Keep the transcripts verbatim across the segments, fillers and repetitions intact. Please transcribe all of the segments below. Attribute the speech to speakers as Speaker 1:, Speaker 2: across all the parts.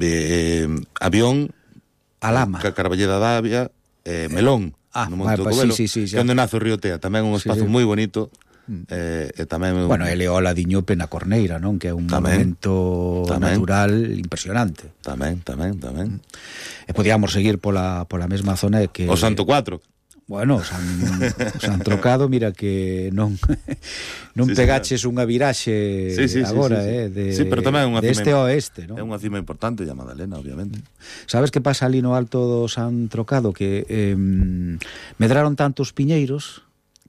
Speaker 1: eh, Avión,
Speaker 2: Alama,
Speaker 1: Ca Carballeda Davia, eh, Melón,
Speaker 2: ah,
Speaker 1: no Monte do
Speaker 2: pues,
Speaker 1: Covelo,
Speaker 2: sí, sí, sí,
Speaker 1: que onde nace o río Tea, tamén un espazo
Speaker 2: sí, sí.
Speaker 1: moi bonito. Eh, e tamén
Speaker 2: bueno, ele o Ladiñope na Corneira, non? Que é un
Speaker 1: tamén,
Speaker 2: monumento
Speaker 1: tamén,
Speaker 2: natural impresionante.
Speaker 1: Tamén, tamén, tamén.
Speaker 2: E podíamos seguir pola, pola mesma zona de que...
Speaker 1: O Santo Cuatro.
Speaker 2: Bueno, o San, o San Trocado, mira que non non sí, pegaches unha viraxe sí, sí, agora, sí, sí, sí. eh, de,
Speaker 1: sí, pero tamén é unha
Speaker 2: de este
Speaker 1: cima,
Speaker 2: a oeste, non?
Speaker 1: É unha cima importante, a Madalena, obviamente.
Speaker 2: Sabes que pasa ali no alto do San Trocado? Que eh, medraron tantos piñeiros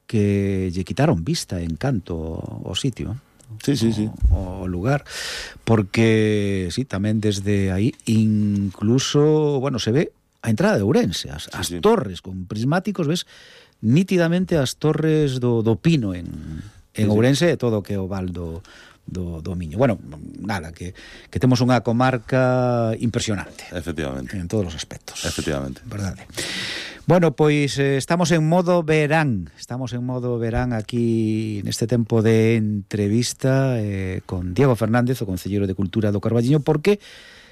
Speaker 2: que lle quitaron vista, encanto ao sitio,
Speaker 1: sí, sí, sí.
Speaker 2: o, o lugar, porque sí, tamén desde aí incluso, bueno, se ve a entrada de Ourense, as, sí, as sí. torres con prismáticos, ves nítidamente as torres do, do Pino en, en sí, Ourense sí. E todo o que é o val do, do, do Miño. Bueno, nada, que, que temos unha comarca impresionante.
Speaker 1: Efectivamente.
Speaker 2: En todos os aspectos.
Speaker 1: Efectivamente.
Speaker 2: Verdade. Bueno, pois eh, estamos en modo verán, estamos en modo verán aquí neste tempo de entrevista eh, con Diego Fernández, o Concelleiro de Cultura do Carballiño, porque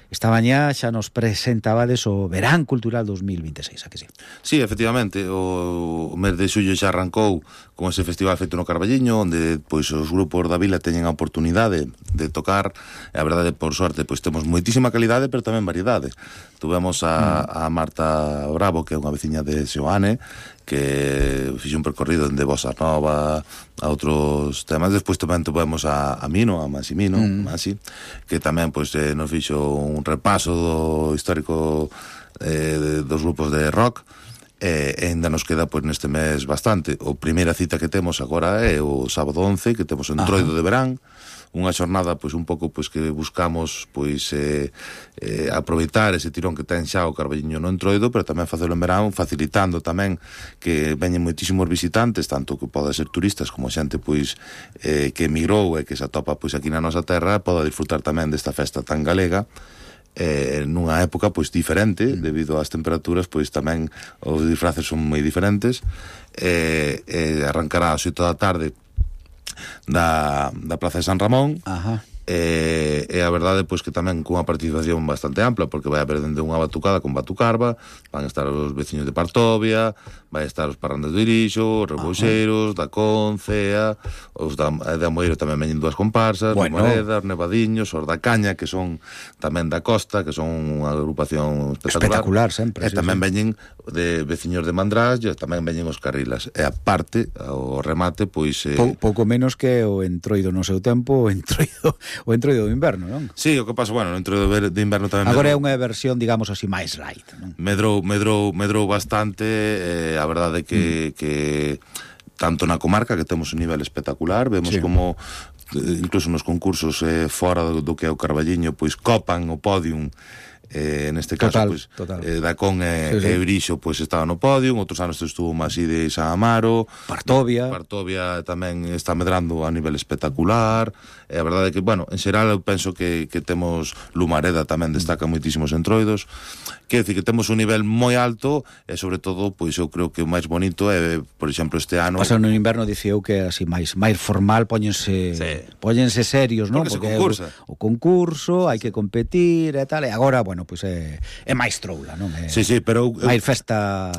Speaker 2: esta mañá xa nos presentabades o Verán Cultural dos mil vinte e seis, a que sí?
Speaker 1: Sí, efectivamente, o, o mes de xullo xa arrancou con ese festival feito no Carballiño, onde pois os grupos da vila teñen a oportunidade de tocar, e a verdade, por sorte, pois temos moitísima calidade, pero tamén variedade. Tuvemos a, a Marta Bravo, que é unha veciña de Seoane, que fixe un percorrido de Bossa Nova a outros temas. Despois tamén tuvemos a, a Mino, a Massimino, mm. Masi, que tamén pois, eh, nos fixo un repaso do histórico eh, dos grupos de rock. E eh, ainda nos queda pois, neste mes bastante. O primeira cita que temos agora é o sábado once, que temos o Entroido de Verán, unha xornada pois un pouco pois que buscamos pois eh, eh, aproveitar ese tirón que ten xa o Carballiño no Entroido, pero tamén facelo en verán, facilitando tamén que veñen moitísimos visitantes, tanto que poda ser turistas como xente pois eh, que emigrou e que se atopa pois aquí na nosa terra, poda disfrutar tamén desta festa tan galega. Eh, nunha época pois diferente, debido ás temperaturas, pois tamén os disfraces son moi diferentes. Eh, eh, arrancará ás oito da tarde da, da Praza de San Ramón.
Speaker 2: Ajá.
Speaker 1: E, e a verdade pois que tamén cunha participación bastante ampla, porque vai haber dende unha batucada con batucarva, van a estar os veciños de Partovia, vai estar os parrandes do Irixo, os rebouxeiros, da Concea, os da, de Amoeiro tamén veñen dúas comparsas, bueno. Os Moreda, os Nevadiños, os da Caña, que son tamén da Costa, que son unha agrupación espectacular,
Speaker 2: espectacular sempre,
Speaker 1: e
Speaker 2: sí,
Speaker 1: tamén
Speaker 2: sí.
Speaker 1: veñen de veciños de Mandrás, e tamén veñen os Carrilas, e aparte, o remate, pois eh...
Speaker 2: Pou, pouco menos que o Entroido no seu tempo, o Entroido o Entroido do inverno, non?
Speaker 1: Sí, o que pasa, bueno, o Entroido de inverno tamén
Speaker 2: agora
Speaker 1: medrou,
Speaker 2: é unha versión, digamos así, máis light, non?
Speaker 1: Medrou, medrou, medrou bastante, eh, a verdade é que, mm. que tanto na comarca que temos un nivel espectacular, vemos sí. como incluso nos concursos eh, fora do, do que é o Carballiño, pois copan o podium. Eh, neste caso,
Speaker 2: total,
Speaker 1: pois,
Speaker 2: total.
Speaker 1: Eh, Dacón e, sí, sí. e Eurixo pois estaba no podio, outros anos estuvo Masí de San Amaro,
Speaker 2: Partovia.
Speaker 1: Partovia tamén está medrando a nivel espectacular. E a verdade é que, bueno, en xeral eu penso que, que temos Lumareda tamén destaca moitísimos entroidos. Quero dicir que temos un nivel moi alto e sobre todo, pois eu creo que o máis bonito é, por exemplo, este ano.
Speaker 2: Pasa no inverno dicía eu que así máis máis formal, póñense sí. póñense serios, non?
Speaker 1: Porque,
Speaker 2: Porque
Speaker 1: concursa.
Speaker 2: o, o concurso, hai que competir e tal, e agora, bueno, pois é, é máis troula, non? É,
Speaker 1: sí, sí, pero eu,
Speaker 2: máis festa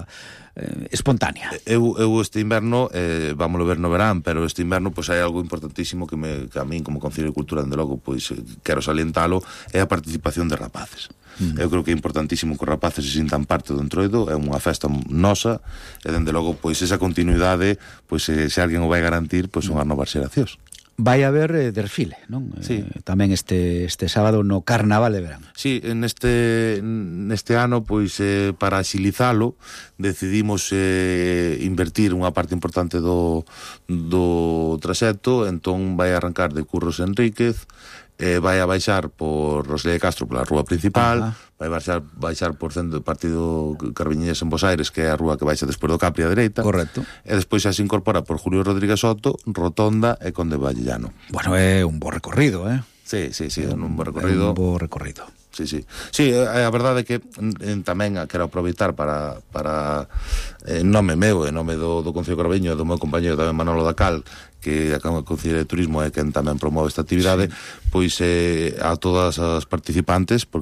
Speaker 2: eh, espontánea.
Speaker 1: Eu, eu este inverno, eh, vámoslo ver no verán, pero este inverno pois hai algo importantísimo que, me, que a min como Concelleiro de Cultura, dende logo, pois quero salientalo, é a participación de rapaces. Mm. Eu creo que é importantísimo que os rapaces se sintan parte do Entroido, é unha festa nosa, e dende logo, pois esa continuidade, pois se, se alguén o vai garantir, pois son as novas xeracións.
Speaker 2: Vai haber eh, desfile, non?
Speaker 1: Sí.
Speaker 2: Eh, tamén este este sábado no Carnaval de Verán.
Speaker 1: Sí, neste neste ano pois eh, para axilizalo decidimos eh, invertir unha parte importante do do traxecto, entón vai arrancar de Curros Enríquez, eh, vai a baixar por Rosalía de Castro pola rúa principal. Ajá. Vai baixar, baixar por centro do Partido Carballiñés en Bos Aires, que é a rúa que baixa despois do Capri a dereita.
Speaker 2: Correcto.
Speaker 1: E despois xa se incorpora por Julio Rodríguez Soto, Rotonda e Conde Vallellano.
Speaker 2: Bueno, é un bo recorrido, eh?
Speaker 1: Sí, sí, sí, é un bo recorrido.
Speaker 2: É un bo recorrido.
Speaker 1: Sí, sí. Sí, a verdade é que en, tamén quero aproveitar para, para en nome meu, en nome do, do Concello de Carballiño e do meu compañero tamén Manolo Dacal, que é o Concelleiro de Turismo e quen tamén promove esta actividade, sí. Pois eh, a todas as participantes, porque